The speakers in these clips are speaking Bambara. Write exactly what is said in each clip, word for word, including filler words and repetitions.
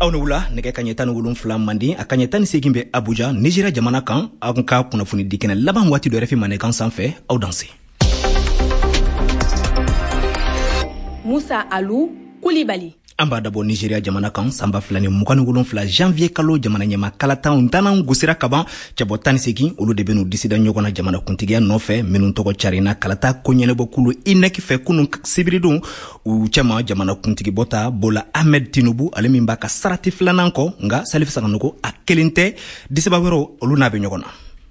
Aw ni wula. Nɛgɛ kaɲɛ tan ni wolonfila Manden, a kaɲɛ tan ni segin bɛ Abuja, Nizeriya jamana kan. Aw ka kunnafoni di kɛnɛ laban waati dɔ R F I Mandenkan sanfɛ. Aw danse. Musa Alu Kulibali. An b'a dabɔ Nizeriya jamana kan. Sanba fila ni mugan ni wolonfila janvier kalo jamana ɲɛma kalataw tannan gosira kaban. Cɛbɔ tan ni segin, olu de ben'u disida ɲɔgɔn na jamana kuntigiya nɔfɛ, minnu tɔgɔ carina kalata ko ɲɛnabɔkulu INEC fɛ kunu sibiridon. U cɛma, jamana kuntigibɔ ta Bola Ahmed Tinubu, ale min b'a ka sarati filanan kɔ. Nga Salifu Saganogo, a kelen tɛ, disiba wɛrɛw, olu n'a bɛ ɲɔgɔn na.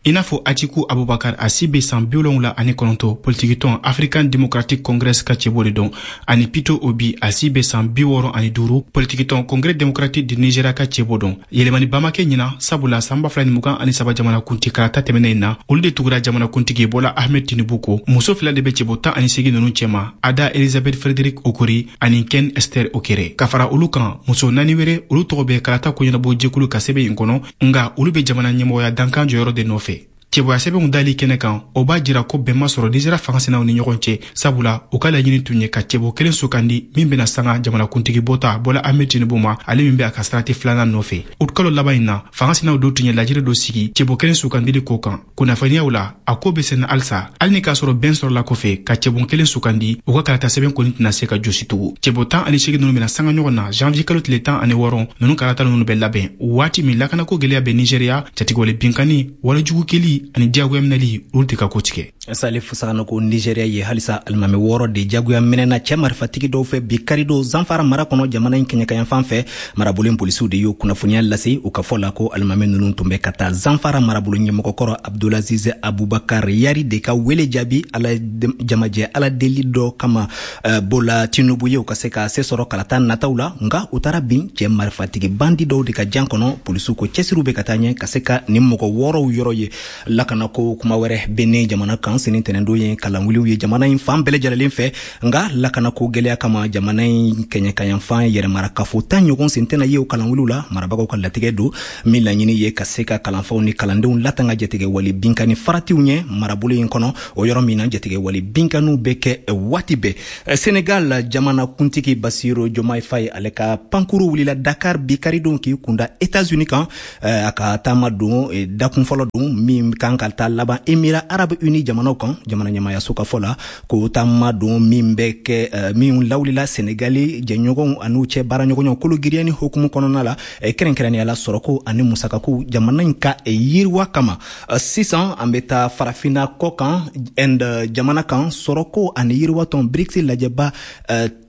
I n'a fɔ Atiku Abubakar, a si be san bi wolonwula ani kɔnɔntɔ, politikitɔn African Democratic Congress ka cɛbɔ de don, ani Peter Obi, a si be san bi wɔɔrɔ ani duuru, politikitɔn Congrès démocratique du Nigeria ka cɛbɔ don. Yɛlɛmani ba ma kɛ ɲina, sabula san ba fila ni mugan ani saba jamana kunti kalata tɛmɛnen na, olu de tugura jamana kuntigi Bola Ahmed Tinubu kɔ. Muso fila de be cɛbɔ tan ani segin nunu cɛma, Ada Elizabeth Frederick Okori ani Ken Esther Okere. Ka fara olu kan, muso naani wɛrɛ, olu tɔgɔ bɛ kalata koɲɛnabɔ jɛkulu ka sɛbɛn in kɔnɔ, nga olu be jamana ɲɛmɔgɔya dankan jɔyɔrɔ de nɔfɛ. Cɛbɔya sɛbɛnw dali kɛnɛ kan, o b'a jira ko bɛn ma sɔrɔ Nizeriya fangasinaw ni ɲɔgɔn cɛ, sabula u ka laɲini tun ye ka cɛbɔ kelen sugandi min bena sanga jamanakuntigi bɔta Bola Ahmed Tinubu ma, ale min be a ka sarati filanan nɔfɛ. Utikalo laban in na, fangasinaw dɔw tun ye lajɛrɛ dɔ sigi cɛbɔ kelen sugandili ko kan. Kunnafoniyaw la, a ko be senna halisa. Hali ni k'a sɔrɔ bɛn sɔrɔla kɔfɛ ka cɛbɔ kelen sugandi, u ka kalata sɛbɛn kɔni tɛna se ka josi tugun. Cɛbɔ tan ani seegin nunu bena sanga ɲɔgɔn na janvier kalo tile tan ani wɔɔrɔ. Nunu kalata nunu bɛ labɛn waati min lakanako gwɛlɛya bɛ Nizeriya, jatigɛwale binkani, walejugu keli ani diyagoya minɛli, olu tɛ ka ko tigɛ. Salifu Saganogo, Nigéria ye halisa, alimami wɔɔrɔ de jagoya minɛna cɛ marifatigi dɔw fɛ bi karidon Zanfara mara kɔnɔ, jamana in kɛɲɛkayanfan fɛ. Marabolo polisiw de y'o kunnafoniya lase. U ka fɔ la ko alimami nunu tun bɛ ka taa Zanfara marabolo ɲɛmɔgɔkɔrɔ Abdulaziz Abubakar Yari de ka wele jaabi ala jamajɛ ala deli dɔ kama uh, Bola Tinubu ye, u ka se ka se sɔrɔ kalata nataw la. Nga u taara bin cɛ marifatigi bandi dɔw de ka jan kɔnɔ. Polisiw ko cɛsiriw bɛ ka taa ɲɛ ka se ka nin mɔgɔ wɔɔrɔw yɔrɔ ye. Lakanako kuma wɛrɛ Benin jamana kan, sini tɛnɛndon ye kalanwuliw ye jamana in fan bɛɛ lajɛlen fɛ. Nga lakanako gwɛlɛya kama, jamana in kɛɲɛkayanfan yɛrɛmarakafo tan ɲɔgɔn sen tɛna ye o kalanwuliw la. Marabagaw ka latigɛ don min laɲini ye ka se ka kalanfaw ni kalandenw latanga jatigɛ wale binkani faratiw ɲɛ marabolo in kɔnɔ, o yɔrɔ min na jatigɛ wale binkaniw bɛ kɛ waati bɛɛ. Senegal jamana kuntigi Basiru Jomayi Faye, ale ka pankuru wulila Dakar bi karidon k'i kunda Etats-Unis kan. A ka taama don dakun fɔlɔ don min kan ka taa laban Émirats arabes unis jamanaw kan. Jamana ɲɛmayaso ka fɔ la ko taama don min bɛ kɛ min lawulila Senegali jɛɲɔgɔnw an'u cɛ baaraɲɔgɔnyaw kolo giriya ni hukumu kɔnɔna la, kɛrɛnkɛrɛnnenya la sɔrɔko ani musakako jamana in ka yiriwa kama. Sisan an bɛ taa Farafinna kɔ kan, Inde jamana kan. Sɔrɔko ani yiriwa tɔn BRICS lajɛba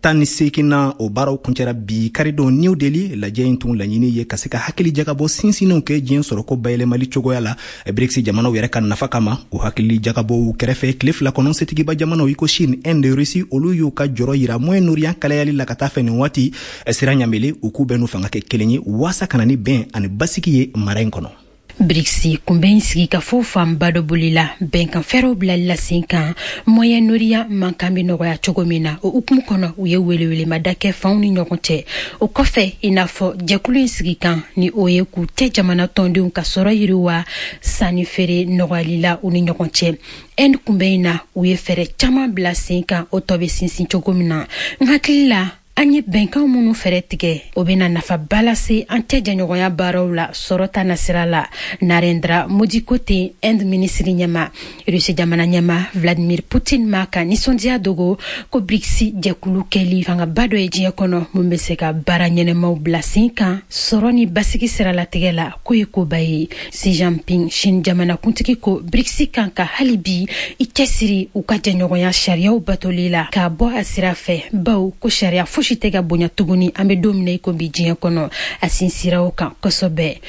tan ni seeginna, o baaraw kuncɛra bi karidon New Delhi. Lajɛ in tun laɲini ye ka se ka hakili jagabɔ sinsinw kɛ diɲɛ sɔrɔko bayɛlɛmali cogoya la BRICS jamanaw yɛrɛ ka nafa kama. O hakili jagabɔw kɛrɛfɛ, tile fila kɔnɔ, setigiba jamanaw i ko Chine, Inde, Russie, olu y'u ka jɔrɔ yira Moyen-Orient kalayali la ka taa fɛ nin waati sira ɲamele. U k'u bɛɛ n'u fanga kɛ kelen ye waasa ka na ni bɛn ani basigi ye mara in kɔnɔ. BRICS kunbɛn sigikafo fanba dɔ bolila bɛnkan fɛɛrɛw bilali la sen kan Moyen-Orient mankan bɛ nɔgɔya cogo min na. O hukumu kɔnɔ, u ye welewelemada kɛ fanw ni ɲɔgɔn cɛ. O kɔfɛ, i n'a fɔ jɛkulu in sigikan ni o ye k'u tɛ jamana tɔndenw ka sɔrɔ yiriwa, sanni feere nɔgɔyali la u ni ɲɔgɔn cɛ. Inde kunbɛn in na, u ye fɛɛrɛ caman bila sen kan, o tɔ bɛ sinsin cogo min na. N hakili la, an ye bɛnkan minnu fɛɛrɛ tigɛ, o bɛna nafaba lase an cɛ jɛɲɔgɔnya baaraw la sɔrɔ ta nasira la, Narendra Modi ko ten, Inde minisiri ɲɛma. Rusi jamana ɲɛma Vladimir Putin ma ka nisɔndiya dogo ko BRICS jɛkulu kɛli fangaba dɔ ye diɲɛ kɔnɔ mun bɛ se ka baara ɲɛnɛmaw bila sen kan sɔrɔ ni basigi siralatigɛ la, k'o ye koba ye. Xi Jinping, Chine jamanakuntigi, ko BRICS kan ka hali bi i cɛsiri u ka jɛɲɔgɔnya sariyaw batoli la k'a bɔ a sira fɛ, baw ko sariya fosi tɛ ka bonya tuguni an bɛ don min na i ko bi diɲɛ kɔnɔ. A sinsira o kan kosɛbɛ.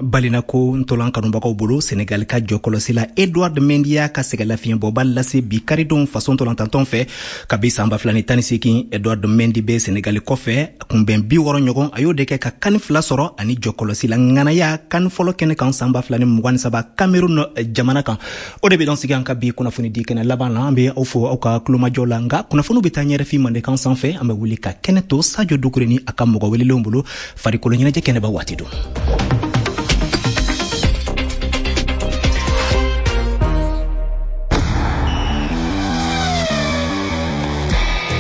Balinako ntolan kanubagaw bolo, Senegal ka jɔkɔlɔsi la Edward Mendy y'a ka sɛgɛlafiɲɛbɔba lase bi karidon faso ntolantantɔn fɛ. Kabi san ba fila ni tan ni seegin, Edward Mendy bɛ Senegali kɔfɛ. Kunbɛn bi wɔɔrɔ ɲɔgɔn, a y'o de kɛ ka kani fila sɔrɔ ani jɔkɔlɔsi la ŋanaya kani fɔlɔ kɛnɛ kan san ba fila ni mugan ni saba Cameroun jamana kan. O de bɛ dan sigi an ka bi kunnafoni di kɛnɛ laban la. An bɛ aw fo aw ka kulomajɔ la. Nka kunnafoniw bɛ taa ɲɛ R F I Mandenkan sanfɛ. An bɛ wuli ka kɛnɛ to Sajo Dukure ni a ka mɔgɔ welelenw bolo farikolo ɲɛnajɛ kɛnɛba waati don.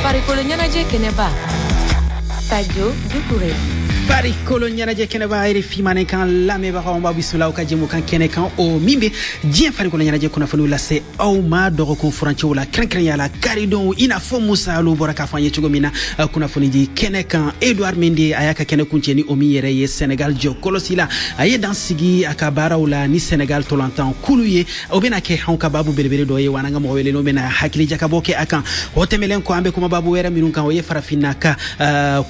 Farikolo ɲɛnajɛ kɛnɛba. Sadio Doucouré. Farikolo ɲɛnajɛ kɛnɛba R F I manenkan lamɛnbagaw, b'aw bisimila aw ka jɛmukan kɛnɛ kan, o min bɛ diɲɛ farikolo ɲɛnajɛ kunnafoniw lase aw ma dɔgɔkun furancɛw la, kɛrɛnkɛrɛnya la karidonw. I n'a fɔ Musa Alu bɔra k'a fɔ an ye cogo min na kunnafoni di kɛnɛ kan, Edouard Mendy a y'a ka kɛnɛ kuncɛ ni o min yɛrɛ ye Senegal jɔ kɔlɔsi la. A ye dan sigi a ka baaraw la ni Senegal tolantan kulu ye. O bɛna kɛ anw ka babu belebele dɔ ye wa, n'an ka mɔgɔ welelenw bɛna hakili jakabɔ kɛ a kan. O tɛmɛlen kɔ, an bɛ kuma babu wɛrɛ minnu kan, o ye farafinna ka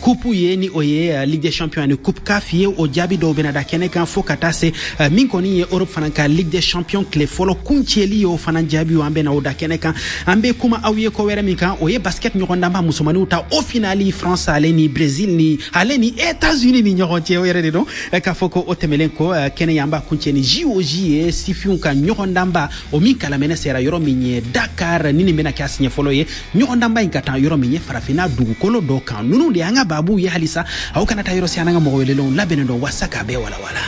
coupe ye, ni o ye Ligue des Champions ani Coupe CAF ye. O jaabi dɔw bɛna da kɛnɛ kan, fo ka taa se min kɔni ye Europe fana ka Ligue des Champions tile fɔlɔ kuncɛli ye, o fana jaabi an bɛna o da kɛnɛ kan. An bɛ kuma aw ye ko wɛrɛ min kan, o ye basket ɲɔgɔndanba musomaninw ta, o finali France ale ni Brésil ni ale ni États-Unis ni ɲɔgɔn cɛ. O yɛrɛ de don k'a fɔ ko o tɛmɛlen kɔ, kɛnɛ an b'a kuncɛ ni J O J ye, sifinw ka ɲɔgɔndanba, o min kalamɛnɛ sera yɔrɔ min ye Dakar. Ni nin bɛna kɛ a siɲɛ fɔlɔ ye ɲɔgɔndanba in ka taa yɔrɔ min ye farafinna dugukolo dɔ kan. Ninnu de y'an ka baabuw ye. Halisa aw kana taa yɔrɔ si, an ka mɔgɔ welelenw labɛnnen don waasa k'a bɛɛ walawala.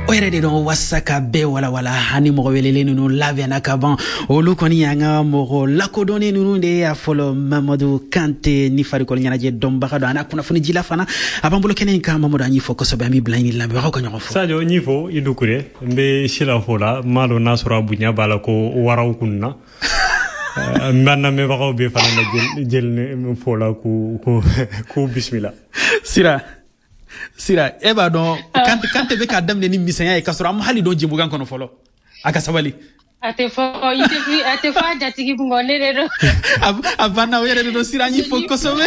O yɛrɛ de dɔn waasa ka bɛɛ walawala, ani mɔgɔ welelen ninnu labɛnna ka ban. Olu kɔni y'an ka mɔgɔ lakodɔnnen ninnu de ye. A fɔlɔ, Mamadu Kante, ni farikolo ɲɛnajɛ dɔnbaga don, a n'a kunnafoni jila fana, a b'an bolo kɛnɛ in kan. Mamadu, an y'i fɔ kosɛbɛ, an b'i bila i ni lamɛnbagaw ka ɲɔgɔn fɔ. Sadio, n y'i fo, i Dukure. N bɛ Sila fo la, n m'a dɔn n'a sɔrɔ a bonya b'a la ko waraw kun na. N b'an lamɛnbagaw bɛɛ fana la jeli fo la k'u k'u bisimila. Sira, Sira, e b'a dɔn Kante, Kante bɛ k'a daminɛ ni misɛnya ye k'a sɔrɔ an ma hali dɔn jɛmukan kɔnɔ fɔlɔ. A ka sabali. A tɛ fɔ i tɛ a tɛ fɔ a jatigi kun kɔ, ne de don. A banna, o yɛrɛ de don. Sira, an y'i fo kosɛbɛ.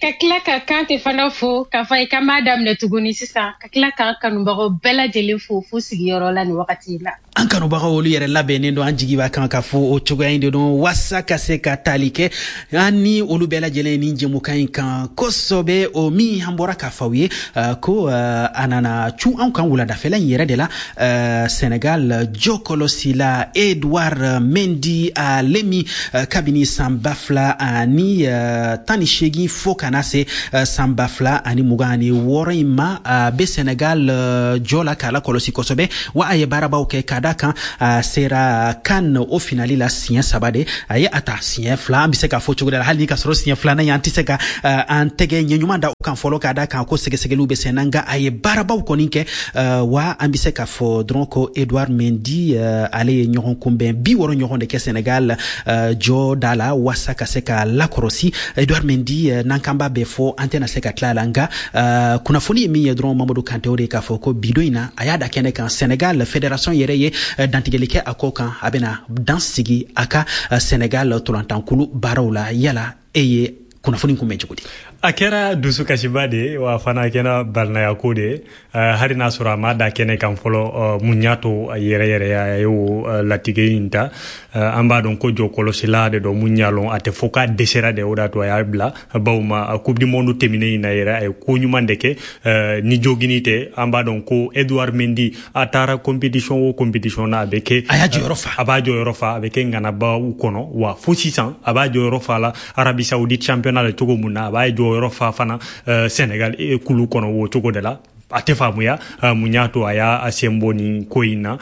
Ka tila ka Kante fana fo k'a fɔ i k'an b'a daminɛ tuguni sisan, ka tila k'an kanubagaw bɛɛ lajɛlen fo fo sigiyɔrɔ la nin wagati in na. An kanubagaw, olu yɛrɛ labɛnnen don, an jigi b'a kan ka fɔ o cogoya in de don waasa ka se ka tali kɛ an ni olu bɛɛ lajɛlen ni jɛmukan in kan kosɛbɛ. O min an bɔra k'a fɔ aw ye ko a nana cu anw kan wuladafɛla in yɛrɛ de la, Senegal jɔkɔlɔsila Edouard Mendy, ale min kabini san ba fila ani tan ni seegin fo ka na se san ba fila ani mugan ani wɔɔrɔ in ma, a bɛ Senegal jɔ la k'a lakɔlɔsi kosɛbɛ, wa a ye baarabaw kɛ ka da kan a sera CAN o finali la siɲɛ saba de. A ye a ta siɲɛ fila, an bɛ se k'a fɔ cogo di la, hali ni ka sɔrɔ siɲɛ filanan ye, an tɛ se ka an tɛgɛ ɲɛ ɲuman da o kan fɔlɔ, k'a da kan ko sɛgɛsɛgɛliw bɛ sen na. Nka a ye baarabaw kɔni kɛ, wa an bɛ se k'a fɔ dɔrɔn ko Edouard Mendy, ale ye ɲɔgɔn kunbɛn bi wɔɔrɔ ɲɔgɔn de kɛ Senegal jɔ da la waasa ka se ka lakɔlɔsi. Edouard Mendy, n'an kan b'a bɛɛ fɔ, an tɛna se ka tila a la. Nka kunnafoni ye min ye dɔrɔn, Mamadu Kante, o de k'a fɔ ko bidon in na, a y'a da kɛnɛ kan, Senegal fédération yɛrɛ ye dantigɛli kɛ a ko kan, a bɛna dan sigi a ka Senegal tolantankulu baaraw la. Yala e ye kunnafoni kunbɛn cogo di? A kɛra dusukasiba de ye, wa fana a kɛra balinayako de ye, hali n'a sɔrɔ a ma da kɛnɛ kan fɔlɔ mun y'a to a yɛrɛ yɛrɛ a y'o latigɛ in ta. An b'a dɔn ko jɔkɔlɔsila de don mun y'a lɔn, a tɛ fɔ k'a dɛsɛra de, o de y'a to a y'a bila. Bawo ma Coupe du monde tɛmɛnen in na yɛrɛ, a ye ko ɲuman de kɛ ni jogini tɛ. An b'a dɔn ko Edouard Mendy, a taara compétition o compétition na, a bɛ kɛ a y'a jɔyɔrɔ fa, a b'a jɔyɔrɔ fa, a bɛ kɛ ŋanabaw kɔnɔ. Wa fo sisan a b'a jɔyɔrɔ fa la Arabie Saoudite championnat la cogo mun na, a b'a jɔyɔrɔ fa fana Sénégal kulu kɔnɔ o cogo de la. A tɛ faamuya mun y'a to a y'a sen bɔ nin ko in na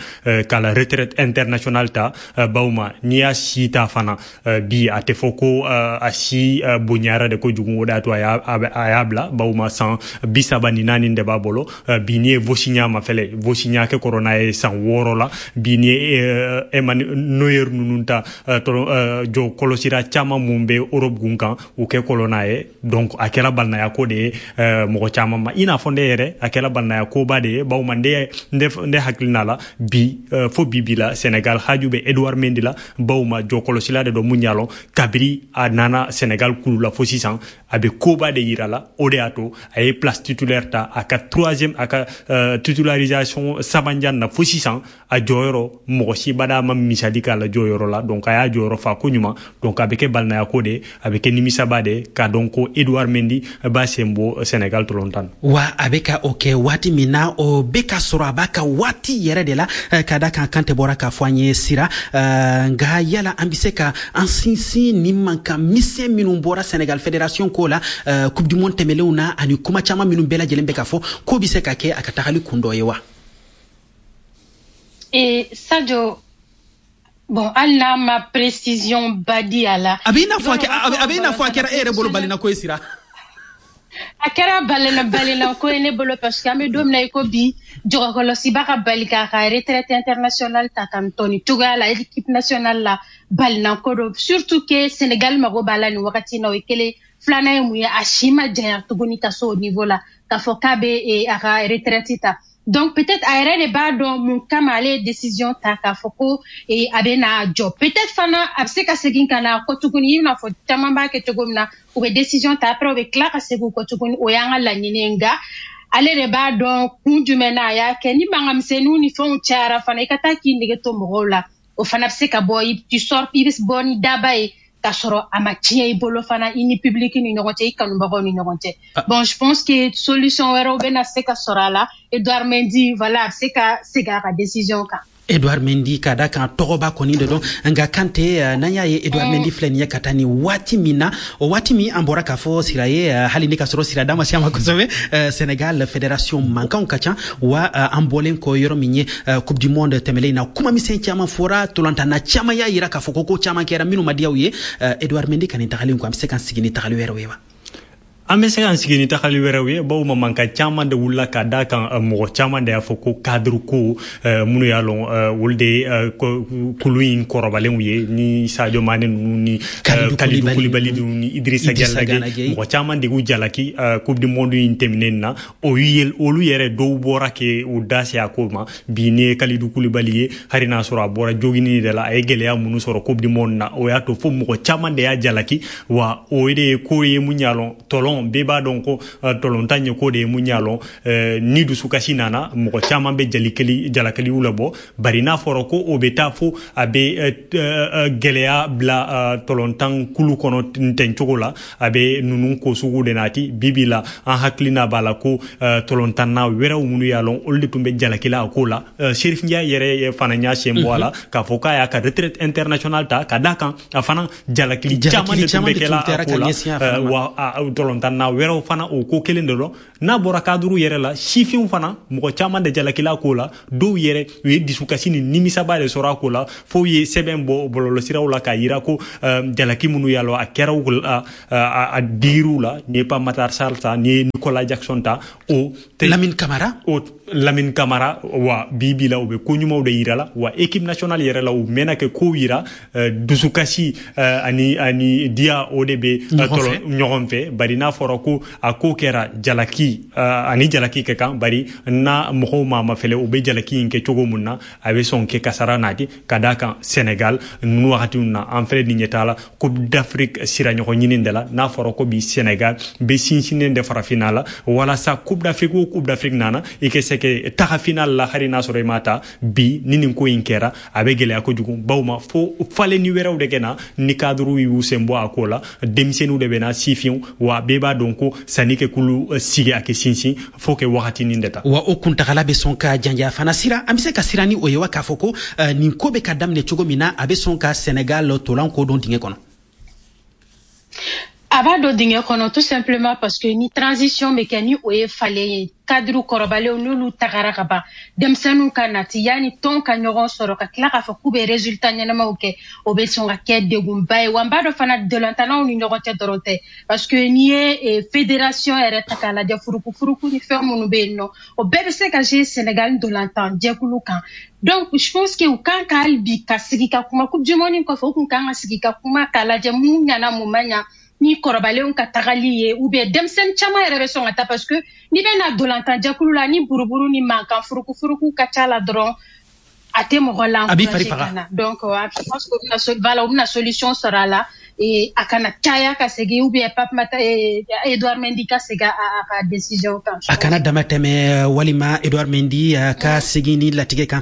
ka la retraite internationale ta. Bawo ma n'i y'a si ta fana bi, a tɛ fɔ ko a si bonyara de kojugu, o de y'a to a y'a bila. Bawo ma san bi saba ni naani de b'a bolo bi. N'i ye Vosinha mafɛlɛ, Vosinha kɛ kɔrɔ n'a ye san wɔɔrɔ la bi. N'i ye Emmanuel Neuer ninnu ta, jɔ kɔlɔsira caman mun bɛ Europe gun kan, u kɛ kɔlɔn n'a ye. Donc a kɛra balinaya ko de ye mɔgɔ caman ma, i n'a fɔ ne yɛrɛ, a kɛra balinaya koba de ye. Bawo ma n ne hakilina la bi, fo bi bi la, Senegal haju bɛ Edouard Mendy la. Bawo ma jɔkɔlɔsila de don mun y'a lɔn, kabiri a nana Senegal kulu la fo sisan, a bɛ koba de yira la. O de y'a to a ye place titulaire ta, a ka troisième, a ka titularisation sabanjan na fo sisan, a jɔyɔrɔ mɔgɔ si bada ma misali k'a la jɔyɔrɔ la. Donc a y'a jɔyɔrɔ fa ko ɲuman. Donc a bɛ kɛ balinaya ko de, a bɛ kɛ nimisaba de k'a dɔn ko Edouard Mendy b'a sen bɔ Senegal tolontan. Wa a bɛ ka o kɛ waati min na, o bɛ ka sɔrɔ a b'a ka waati yɛrɛ de la, ka da kan Kante bɔra k'a fɔ an ye. Sira, nka yala an bɛ se ka an sinsin ni mankan misɛn minnu bɔra Senegal fédération ko la Coupe du monde tɛmɛnlenw na, ani kuma caman minnu bɛɛ lajɛlen bɛ ka fɔ, k'o bɛ se ka kɛ a ka tagali kun dɔ ye wa? Ee Sadio, Bon, hali n'a ma précision ba di a la. A bɛ i n'a fɔ a bɛ i n'a fɔ a kɛra e yɛrɛ bolo balinako ye, Sira. A kɛra balina balinako ye ne bolo, parce que an bɛ don min na i ko bi, jɔgɔkɔlɔsiba ka bali k'a ka retraite internationale ta ka tɔ nin cogoya la équipe nationale la, balinako don, surtout que Sénégal mago b'a la nin wagati in na. O ye kelen. Filanan ye mun ye? A si ma janya tuguni ka se o niveau la k'a fɔ k'a bɛ a ka retraite ta. Donc peut-être a yɛrɛ de b'a dɔn mun kama ale ye décision ta k'a fɔ ko a bɛ na jɔ. Peut-être fana a bɛ se ka segin ka na kɔ tuguni, i n'a fɔ caman b'a kɛ cogo min na, u bɛ décision ta, après u bɛ tila ka segin u kɔ tuguni. O y'an ka laɲini ye, nka ale de b'a dɔn kun jumɛn na a y'a kɛ. Ni mankanmisɛnninw ni fɛnw cayara fana, i ka taa k'i nege to mɔgɔw la, o fana bɛ se ka bɔ, tu sors, i bɛ bɔ ni daba ye k'a sɔrɔ a ma tiɲɛ i bolo fana, i ni public ni ɲɔgɔn cɛ, i kanubagaw ni ɲɔgɔn cɛ. Bon, je pense que solution wɛrɛw bɛna se ka sɔrɔ a la. Edouard Mendy, voilà, a bɛ se ka segin a ka décision kan. Edouard Mendy, ka da kan tɔgɔba kɔni de don. Nka Kante, n'an y'a ye Edouard Mendy filɛ nin ye ka taa nin waati min na, o waati min an bɔra k'a fɔ Sira ye, hali ni ka sɔrɔ Sira da ma se a ma kosɛbɛ, Sénégal fédération mankanw ka ca wa. An bɔlen kɔ yɔrɔ min ye, Coupe du monde tɛmɛlen na, kuma misɛn caman fɔra, tolantanna caman y'a yira k'a fɔ ko ko caman kɛra minnu ma diya u ye. Edouard Mendy ka nin tagalen kɔ, an bɛ se k'an sigi ni tagali wɛrɛw ye wa? An bɛ se k'an sigi ni tagali wɛrɛw ye, bawo mankan caman de wulila ka da kan. Mɔgɔ caman de y'a fɔ ko cadre ko minnu y'a lɔn, olu de ye kulu in kɔrɔbalenw ye, ni Sadio Mane ninnu ni Kalidou Koulibaly ninnu ni Idrissa Gana Gueye. Mɔgɔ caman de y'u jalaki Coupe du monde in tɛmɛnen na. O ye olu yɛrɛ dɔw bɔra ke u da se a ko ma. Bi n'i ye Kalidou Koulibaly ye, hali n'a sɔrɔ a bɔra jogini de la, a ye gɛlɛya minnu sɔrɔ Coupe du monde na, o y'a to fo mɔgɔ caman de y'a jalaki wa. O de ye ko ye mun y'a lɔn, tɔlɔn bɛɛ b'a dɔn ko tɔlɔntan ye ko de ye mun y'a lɔn, ni dusukasi nana, mɔgɔ caman bɛ jalikɛli jalakɛliw labɔ. Bari n'a fɔra ko o bɛ taa fo a bɛ gɛlɛya bila tɔlɔntan kulu kɔnɔ ntɛn cogo la, a bɛ ninnu ko sugu de nati. Bi bi la, an hakilina b'a la ko tɔlɔntanna wɛrɛw minnu y'a lɔn, olu de tun bɛ jalakila a ko la. Chérif Ndiaye yɛrɛ fana y'a sen bɔ a la k'a fɔ k'a y'a ka retraite internationale ta, ka d'a kan a fana jalakili caman de tun bɛ kɛla a ko la wa. Tɔlɔntanna wɛrɛw fana, o ko kelen de dɔn. N'a bɔra cadre yɛrɛ la, sifinw fana, mɔgɔ caman de jalakila ko la. Dɔw yɛrɛ, u ye dusukasi ni nimisaba de sɔrɔ a ko la, fo ye sɛbɛn bɔ bɔlɔlɔsiraw la k'a yira ko jalaki minnu y'a lɔ, a kɛra u la, a digiriw la. N'i ye Pape Matar Sarr ta, n'i ye Nicolas Jackson ta, o Lamine Camara. O Lamine Camara wa. Bi bi la, u bɛ ko ɲumanw de yira la wa. Équipe nationale yɛrɛ la, u mɛnna kɛ kow yira, dusukasi ani ani diya, o de bɛ ɲɔgɔn fɛ. Bari n'a fɔra ko a ko kɛra jalaki ani jalaki kɛ kan, bari n'a mɔgɔw maa ma fɛlɛ, u bɛ jalaki in kɛ cogo mun na, a bɛ sɔn kɛ kasara nati. Ka d'a kan Sénégal ninnu wagati na, an filɛ nin ɲɛ la Coupe d'Afrique sira ɲɔgɔn ɲini de la. N'a fɔra ko bi Sénégal bɛ sinsinnen de farafinna la walasa Coupe d'Afrique o Coupe d'Afrique nana, i kɛ se kɛ taga final la, hali n'a sɔrɔ i ma ta. Bi ni nin ko in kɛra, a bɛ gɛlɛya kojugu, bawo ma fo falenni wɛrɛw de kɛ na ni cadre y'u sen bɔ a ko la. Denmisɛnninw de bɛ na, sifinw wa. Bɛɛ b'a dɔn ko sanni kɛ kulu sigi, a kɛ sinsin fo kɛ wagatinin de ta. Wa o kuntagala bɛ sɔn ka janja fana. Sira, an bɛ se ka siran ni o ye wa, k'a fɔ ko nin ko bɛ ka daminɛ cogo min na, a bɛ sɔn ka Sénégal tolan ko don dingɛ kɔnɔ? A b'a dɔn dingɛ kɔnɔ, tout simplement parce que ni transition bɛ kɛ, ni o ye falen ye, cadre kɔrɔbalenw n'olu tagara ka ban, denmisɛnninw ka nati, yanni tɔn ka ɲɔgɔn sɔrɔ ka tila k'a fɔ k'u bɛ résultat ɲɛnamaw kɛ, o bɛ sɔn ka kɛ degunba ye wa. N b'a dɔn fana, dolantanaw ni ɲɔgɔn cɛ dɔrɔn tɛ, parce que n'i ye fédération yɛrɛ ta k'a lajɛ, furuku ni fɛn minnu bɛ yen nɔ, o bɛɛ bɛ se ka jouer Sénégal dolantan jɛkulu kan. Donc je pense que u kan ka hali bi ka sigi ka kuma. Coupe du monde kɔfɛ, u kun kan ka sigi ka kuma k'a lajɛ mun ɲana, mun ma ɲa, ni kɔrɔbalenw ka tagali ye, ou bien denmisɛnnin caman yɛrɛ bɛ sɔn ka taa, parce que n'i bɛ na dolantan jɛkulu la, ni buruburu ni mankan furuku ka ca la dɔrɔn, a tɛ mɔgɔ la A b'i fari faga. Donc je pense que u bɛna, voilà, u bɛna solution sɔrɔ a la et a kana caya ka segin, ou bien Pape Mata, Edouard Mendy ka segin a ka décision kan. A kana dama tɛmɛ, walima Edouard Mendy ka segin ni latigɛ kan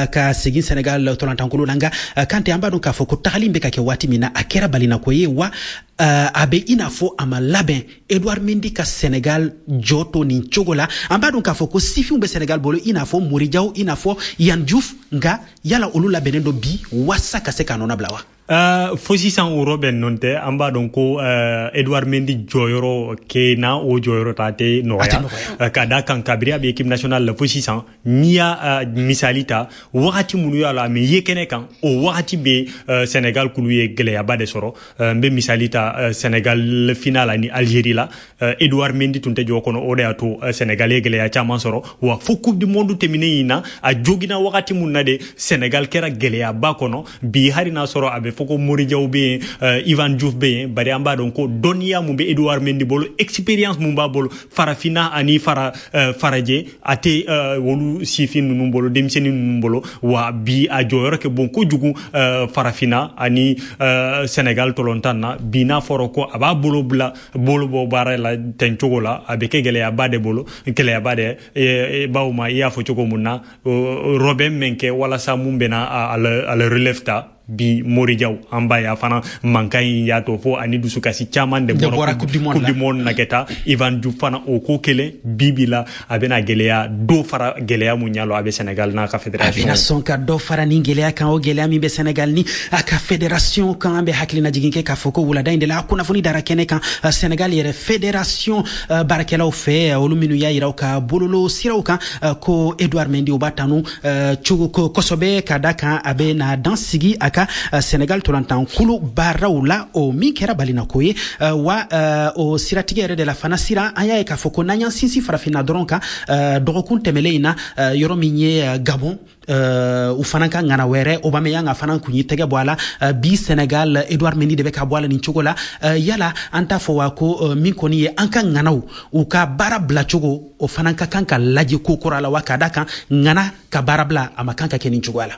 ka segin Sénégal tolantankulu la. Nka Kante, an b'a dɔn k'a fɔ ko tagali bɛ ka kɛ waati min na, a kɛra balinako ye wa. A bɛ i n'a fɔ a ma labɛn Edouard Mendy ka Sénégal jɔ to nin cogo la. An b'a dɔn k'a fɔ ko sifinw bɛ Sénégal bolo, i n'a fɔ Mory Diaw, i n'a fɔ Yehvann Diouf. Nka yala olu labɛnnen don bi waasa ka se k'a nɔ bila wa? Uh, fo sisan o rɔbɛn nɔn tɛ. An b'a dɔn ko uh, Edouard Mendy jɔyɔrɔ ke na o jɔyɔrɔ ta tɛ nɔgɔya, uh, ka da kan kabiri a bɛ équipe nationale la fo sisan. N'i y'a uh, misali ta, wagati minnu y'a la a mɛ ye kɛnɛ kan, o wagati bɛ uh, Sénégal kulu ye gɛlɛyaba de sɔrɔ. uh, n bɛ misali ta uh, Sénégal final ani Algérie la, uh, Edouard Mendy tun tɛ jɔ kɔnɔ, o de y'a to uh, Sénégal ye gɛlɛya caman sɔrɔ. Wa fo Coupe du monde tɛmɛnen in na, a jogina wagati mun na de, Sénégal kɛra gɛlɛyaba kɔnɔ. Bi hali n'a sɔrɔ a bɛ fɔ ko Morijaw bɛ yen, uh, Ivan Diouf bɛ yen, bari an b'a dɔn ko dɔnniya mun bɛ Edouard Mendy bolo, expérience mun b'a bolo farafinna ani fara uh, farajɛ, a tɛ uh, olu sifin ninnu bolo, denmisɛnnin ninnu bolo. Wa bi a jɔyɔrɔ kɛ bon kojugu uh, farafinna ani uh, Sénégal tɔlɔntan na. Bi n'a fɔra ko a b'a bolo bila bolo bɔ baara la ten cogo la, a bɛ kɛ gɛlɛyaba de bolo, gɛlɛyaba de e, bawo ma i y'a fɔ cogo mun na, rɔbɛn min kɛ walasa mun bɛna a, a la relève ta. Bi Morijaw, an b'a ye a fana mankan in y'a to fo ani dusukasi caman de bɔra Coupe du monde na kɛ taa. Ivan Diouf fana, o ko kelen. Bi bi la a bɛna gɛlɛya dɔ fara gɛlɛya mun ɲa lɔ a bɛ Sénégal n'a ka fédération. A bɛna sɔn ka dɔ fara nin gɛlɛya kan, o gɛlɛya min bɛ Sénégal ni a ka fédération kan. An bɛ hakilina jigin kɛ k'a fɔ ko wulada in de la, a kunnafoni dara kɛnɛ kan Sénégal yɛrɛ fédération baarakɛlaw fɛ, olu minnu y'a yira u ka bololo siraw kan ko Edouard Mendy, u b'a tanu cogo kosɛbɛ, ka da kan a bɛ na dan sigi a ka Sénégal tolantan kulu baaraw la, o min kɛra balinako ye. Wa o siratigɛ yɛrɛ de la fana sira, an y'a ye k'a fɔ ko n'an y'an sinsin farafinna dɔrɔn kan, dɔgɔkun tɛmɛlen in na, yɔrɔ min ye Gabon, uh, u fana ka ŋana wɛrɛ Aubameyang fana kun y'i tɛgɛ bɔ a la. uh, bi Sénégal, Edouard Mendy de bɛ ka bɔ a la nin cogo la. uh, yala an t'a fɔ wa ko uh, min kɔni ye an ka ŋanaw u ka baara bila cogo, o fana ka kan ka lajɛ ko kura la wa, ka da kan ŋana ka baara bila a ma kan ka kɛ nin cogoya la?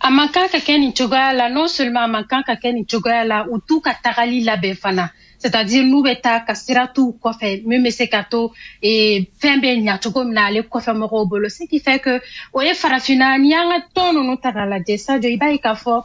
A man kan ka kɛ nin cogoya la. Non seulement a man kan ka kɛ nin cogoya la, u t'u ka tagali labɛn fana, c'est-à-dire n'u bɛ taa ka sira t'u kɔfɛ min bɛ se ka to fɛn bɛ ɲa cogo min na ale kɔfɛ mɔgɔw bolo. Ce qui fait que o ye farafinna, n'i y'an ka tɔn ninnu ta k'a lajɛ, Sadio, i b'a ye k'a fɔ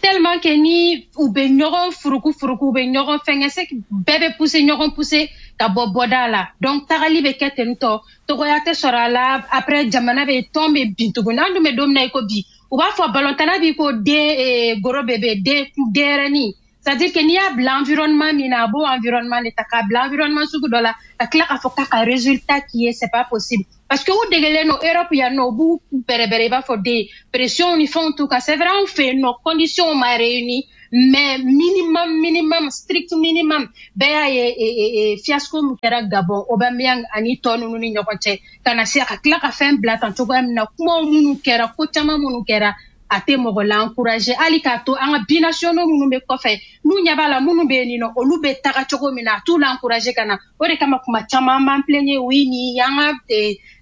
tellement que ni u bɛ ɲɔgɔn furuku furuku, u bɛ ɲɔgɔn fɛngɛ, c'est bɛɛ bɛ pousser ɲɔgɔn pousser ka bɔ bɔda la. Donc tagali bɛ kɛ ten tɔ, togoya tɛ sɔrɔ a la. Après jamana bɛ tɔn bɛ bin tuguni. An dun bɛ don min na i ko bi, u b'a fɔ balontanna b'i ko den goro bébé, den denyɛrɛnin, c'est-à-dire que n'i y'a bila environnement min na, a b'o environnement de ta k'a bila environnement sugu dɔ la, ka tila k'a fɔ k'a ka résultat qui est, c'est pas possible, parce que u degelen don Europe yan nɔ, u b'u bɛrɛbɛrɛ i b'a fɔ den, pression ni fɛnw t'u kan. C'est vrai, anw fɛ yen nɔ, conditions ma réuni, mais minimum minimum, strict minimum, bɛɛ y'a ye fiasco min kɛra Gabon, Aubameyang ani tɔ ninnu ni ɲɔgɔn cɛ, ka na se a ka tila ka fɛn bila tan cogoya min na, kumaw minnu kɛra, ko caman minnu kɛra, a tɛ mɔgɔ la encourager hali k'a to an ka binationaux minnu bɛ kɔfɛ, n'u ɲɛ b'a la minnu bɛ yen nɔ, olu bɛ taga cogo min na, a t'u la encourager ka na. O de kama kuma caman an b'an plaigner, oui, nin y'an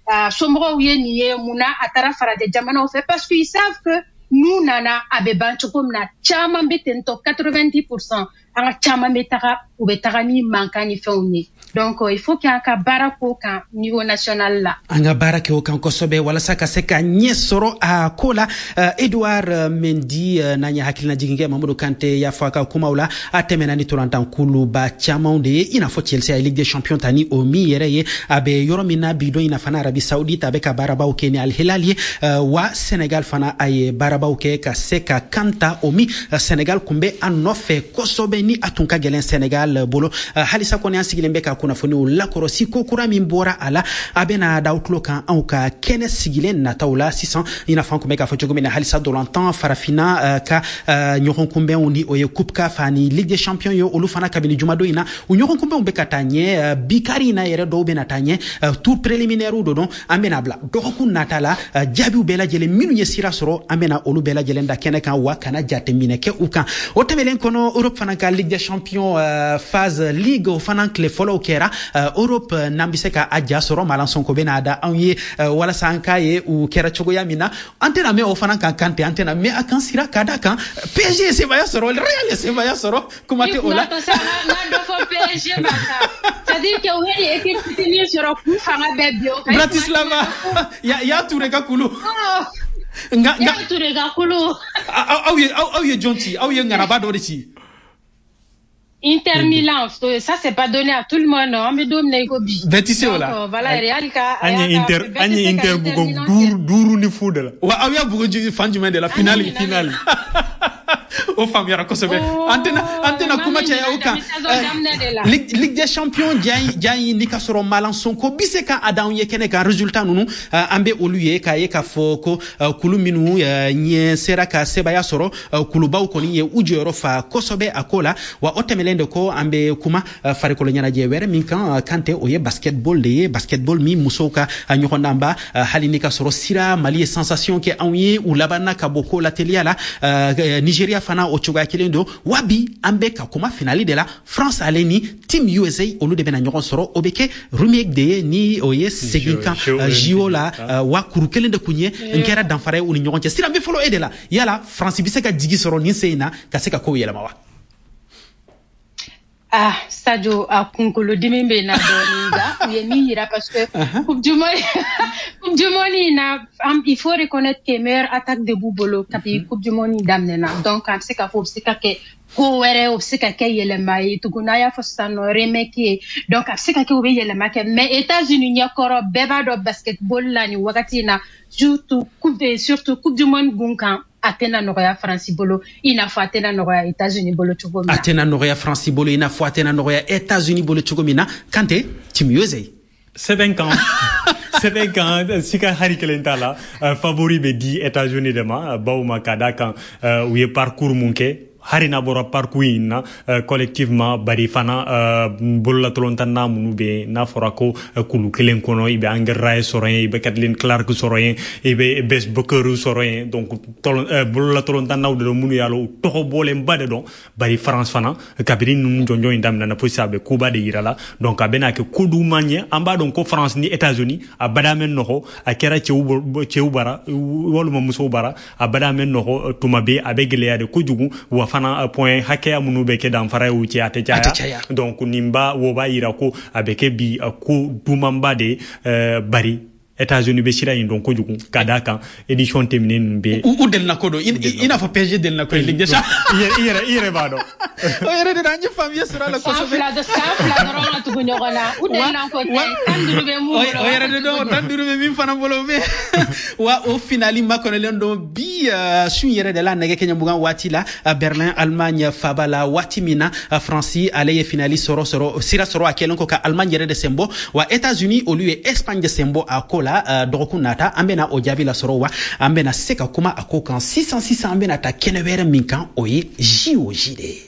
ka somɔgɔw ye nin ye, mun na a taara farajɛ jamanaw fɛ? Parce que ils savent que n'u nana, a bɛ ban cogo min na. Caman bɛ ten tɔ, quatre-vingt-dix pour cent an ka caman bɛ taga, u bɛ taga ni mankan ni fɛnw ye. Donc il faut qu'an ka baara k'o kan niveau national la. An ka baara kɛ o kan kosɛbɛ walasa ka se ka ɲɛ sɔrɔ a ko la. uh, Edouard Mendy, uh, n'an ye hakilina jigin kɛ, Mamadu Kante y'a fɔ a ka kumaw la, a tɛmɛna ni tolantankuluba camanw de ye, i n'a fɔ Chelsea a ye Ligue des champions ta ni o min yɛrɛ ye. A bɛ yɔrɔ min na bi don in na fana, Arabie Saoudite, a bɛ ka baarabaw kɛ ni Al Hilal ye. uh, wa Sénégal fana, a ye baarabaw kɛ ka se ka kan ta, o min uh, Sénégal kun bɛ a nɔfɛ kosɛbɛ, ni a tun ka gɛlɛn Sénégal bolo. uh, halisa kɔni an sigilen bɛ ka kunnafoniw lakɔrɔsi ko kura min bɔra a la, a bɛna da aw tulo kan anw ka kɛnɛ sigilen nataw la. Sisan, i n'a fɔ an kun bɛ k'a fɔ cogo min na, halisa dolantan farafinna uh, ka uh, ɲɔgɔn kunbɛnw, ni o ye Coupe CAF ani Ligue des champions ye, olu fana kabini jumadon in na, u ɲɔgɔn kunbɛnw bɛ ka taa ɲɛ. uh, bi kari in na yɛrɛ, dɔw bɛna taa ɲɛ, uh, tour préliminaire do don. An bɛna bila dɔgɔkun nata la, uh, jaabiw bɛɛ lajɛlen minnu ye sira sɔrɔ, an bɛna olu bɛɛ lajɛlen da kɛnɛ kan wa kana jateminɛ kɛ u kan. O tɛmɛlen kɔnɔ, Europe fana ka Ligue des champions uh, phase ligue, o fana tile fɔlɔw kɛra uh, Europe. N'an bɛ se ka a ja sɔrɔ, Malan Sonko bɛna da anw ye uh, walasa an k'a ye u kɛra cogoya min na. An tɛna mɛn o fana kan Kante, an tɛna mɛn a kan sira, ka da kan P S G ye sebaaya sɔrɔ, Real ye sebaaya sɔrɔ, kuma tɛ o la. P S G ma c'est-à-dire que u ye équipe fitinin sɔrɔ k'u fanga bɛɛ bi o kan. Bratislava, ya ya Touré ka kulu. Nka nka Touré ka kulu. Aw ye aw ye jɔn ci? Aw ye ŋanaba dɔ de ci. Inter Milan, ça c'est pas donné à tout le monde. An bɛ don min na i ko bi. Bɛɛ tɛ se o la. Voilà, Real ka an ye Inter an ye Inter bugɔ duuru duuru ni fu de la. Wa aw y'a bugɔ fan jumɛn de la finale finale. O faamuyara kosɛbɛ. An tɛna an tɛna kuma caya o kan. Ligue des champions ja in ni ka sɔrɔ Malan Sonko bi se ka a d'anw ye kɛnɛ kan résultat ninnu an bɛ olu ye k'a ye k'a fɔ ko kulu minnu ɲɛ sera ka sebaaya sɔrɔ kulubaw kɔni ye u jɔyɔrɔ fa kosɛbɛ a ko la. Wa o tɛmɛnen de kɔ an bɛ kuma farikolo ɲɛnajɛ wɛrɛ min kan Kante, o ye basketball de ye. Basketball min musow ka ɲɔgɔndanba, hali ni ka sɔrɔ sira Mali ye sensation kɛ anw ye, u labanna ka bɔ ko la teliya la. Nigeria fana o cogoya kelen don. Wa bi an bɛ ka kuma finale de la, France ale ni Team U S A olu de bɛna ɲɔgɔn sɔrɔ. O bɛ kɛ remake de ye ni o ye segin kan J O la. Wa kuru kelen de kun ye n kɛra danfara ye u ni ɲɔgɔn cɛ. Sira bɛ fɔlɔ e de la, yala France bɛ se ka jigi sɔrɔ nin sen in na ka se ka kow yɛlɛma wa? Ah, Sadio, a kunkolodimi bɛ na dɔɔnin nka u ye min yira parce que Coupe du Monde Coupe du Monde in na, il faut reconnaître que meilleure attaque de b'u bolo kabi Coupe du Monde in daminɛna. Donc an bɛ se k'a fɔ o bɛ se ka kɛ ko wɛrɛ, o bɛ se ka kɛ yɛlɛma ye tugun. N'a y'a fɔ sisan nɔ remake ye, donc a bɛ se ka kɛ o bɛ yɛlɛma kɛ. Mais États-Unis ɲɛkɔrɔ, bɛɛ b'a dɔn basketball la nin wagati in na, surtout coupe surtout Coupe du Monde gun kan, a tɛna nɔgɔya Faransi bolo i n'a fɔ a tɛna nɔgɔya États-Unis bolo cogo min na. A tɛna nɔgɔya Faransi bolo i n'a fɔ a tɛna nɔgɔya États-Unis bolo cogo min na. Kante, Team U S A. Sɛbɛn kan sɛbɛn kan sika hari kelen t'a la. Favori bɛ di États-Unis de ma, bawo ma ka d'a kan u ye parcours mun kɛ, hari n'a bɔra parcours in na collectivement, bari fana bololatɔlɔntanna minnu bɛ yen n'a fɔra ko kulu kelen kɔnɔ, i bɛ Angel Ray sɔrɔ yen, i bɛ Kathleen Clark sɔrɔ yen, i bɛ Bess Booker sɔrɔ yen. Donc bololatɔlɔntannaw de don minnu y'a lɔn u tɔgɔ bɔlenba de don. Bari France fana kabini ninnu jɔnjɔn in daminɛna fo sisan a bɛ koba de yira la. Donc a bɛna kɛ ko duman ye. An b'a dɔn ko France ni États-Unis a bada mɛn nɔgɔ, a kɛra cɛw cɛw bara walima musow bara, a bada mɛn nɔgɔ tuma bɛɛ, a bɛ gɛlɛya de kojugu. Wa fana point hakɛya minnu bɛ kɛ danfara ye u cɛ, a tɛ caya. Donc nin ba wo b'a yira ko a bɛ kɛ bi ko dumanba de, bari États-Unis bɛ sira in dɔn kojugu ka d'a kan édition tɛmɛnen ninnu bɛ u delina ko don i n'a fɔ P S G delina ko ye Ligue des Champions. I yɛrɛ i yɛrɛ b'a dɔn. O yɛrɛ de la an ye faamuya sɔrɔ a la kosɛbɛ. San fila san fila dɔrɔn ka tugu ɲɔgɔn na, u delina ko tɛ, tan duuru bɛ mun bolo. O yɛrɛ de don, tan duuru bɛ min fana bolo bɛ. Wa o finale makɔnɔlen don bi su yɛrɛ de la nɛgɛ kɛɲɛ mugan waati la Berlin, Allemagne faba la. Waati min na France ale ye finale sɔrɔ sɔrɔ sira sɔrɔ a kɛlen kɔ ka Allemagne yɛrɛ de sen bɔ, wa États-Unis olu ye Espagne de sen bɔ a ko la. Dɔgɔkun nata an bɛna o jaabi lasɔrɔ, wa an bɛna se ka kuma a ko kan sisan sisan. An bɛna taa kɛnɛ wɛrɛ min kan, o ye J O J de ye.